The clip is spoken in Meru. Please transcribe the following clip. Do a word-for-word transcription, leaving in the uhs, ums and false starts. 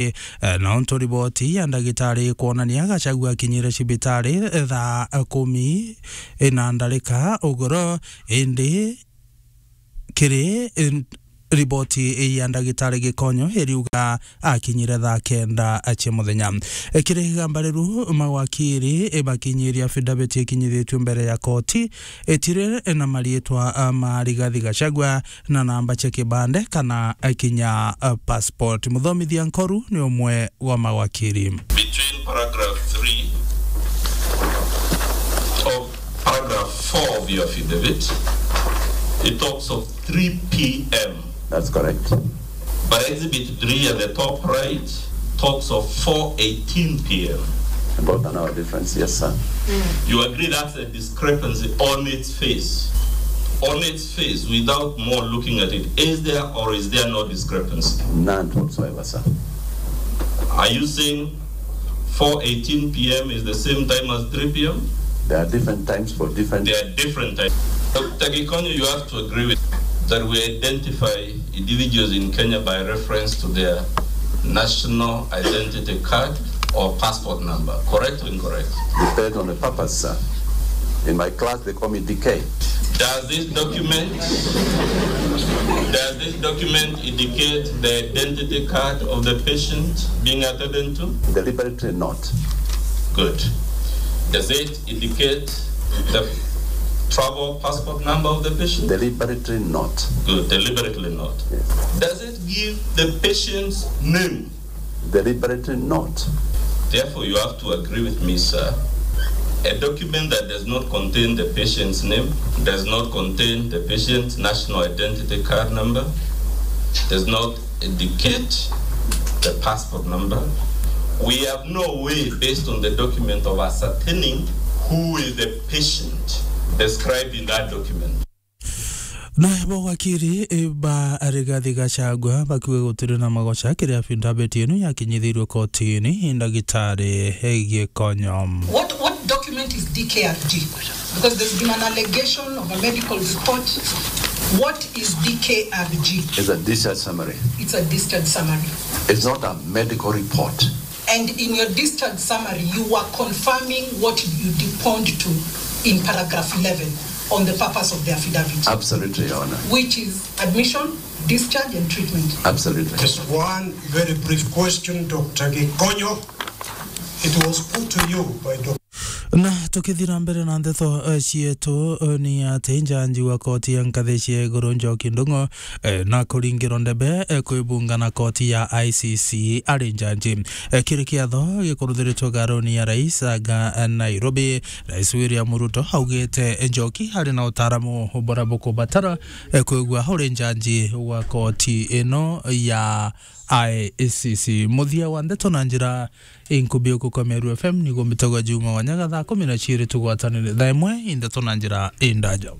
Eh, na untu riboti ya ndagitari ikwonania Gachagua akinyire cibitari, eh, thaa kumi na ndarika ugoro, indi kiri, eh, riboti ya ndagitari Gikonyo iriuga akinyire thaa kenda cia muthenya. Eh, kiri igamba riu, mawakiri, eh, bakinyiria affidavit ikinyithitue mbere ya koti, itiri na mariitwa, ah, ma Rigathi Gachagua na namba cia kibande kana, eh, kinya, eh, passport. Muthomithia Nkoru ni umwe wa mawakiri. Between paragraph three of paragraph four of your affidavit, it talks of three p m. That's correct. But exhibit three at the top right talks of four eighteen p m. About an hour difference, yes, sir. You agree that's a discrepancy on its face? On its face, without more looking at it, is there or is there no discrepancy? None whatsoever, sir. Are you saying four eighteen p m is the same time as three p m? There are different times for different There are different times. Doctor Gikonyo, you have to agree with that we identify individuals in Kenya by reference to their national identity card or passport number. Correct or incorrect? Depends on the purpose, sir. In my class, they call me D K. Does this document, does this document indicate the identity card of the patient being attended to? Deliberately not. Good. Does it indicate the travel passport number of the patient? Deliberately not. Good, deliberately not. Yes. Does it give the patient's name? Deliberately not. Therefore, you have to agree with me, sir. A document that does not contain the patient's name, does not contain the patient's national identity card number, does not indicate the passport number. We have no way, based on the document, of ascertaining who is the patient described in that document. Na bo wakiri, eh, ba Rigathi Gachagua bakiuga gutiri na magoca kiri affidavit ino yakinyithirwe kotini i ndagitari Gikonyo. What, what document is D K R G? Because there's been an allegation of a medical report. What is D K R G? It's a discharge summary. It's a discharge summary. It's not a medical report. And in your discharge summary, you were confirming what you deponed to in paragraph eleven on the purpose of the affidavit. Absolutely, Your Honor. Which is admission, discharge, and treatment. Absolutely. Just one very brief question, Doctor Gikonyo. It was put to you by Doctor Na tukithira mbere na ndeto, eh, cietu, eh, ni ati njanji wa koti ya nkathi cia iguru Njoki Ndung'u, eh, na kuringirwa ndebe, eh, kwibunga na koti ya I C C ari njanji. Eh, kiri kiatho gikuruthiritwe garuni ya rais aga, eh, Nairobi, Rais William Ruto augite Njoki ari na utaaramu buria bukubatara, eh, kwigua uri njanji wa koti ino ya I C C. Muthia wa ndeto na njira inkubi uku kwa Meru F M ni gumbitagwa Juma Wanyaga thaa kumi na ciiri tugwatanire thaa imwe i ndeto na njira indaja.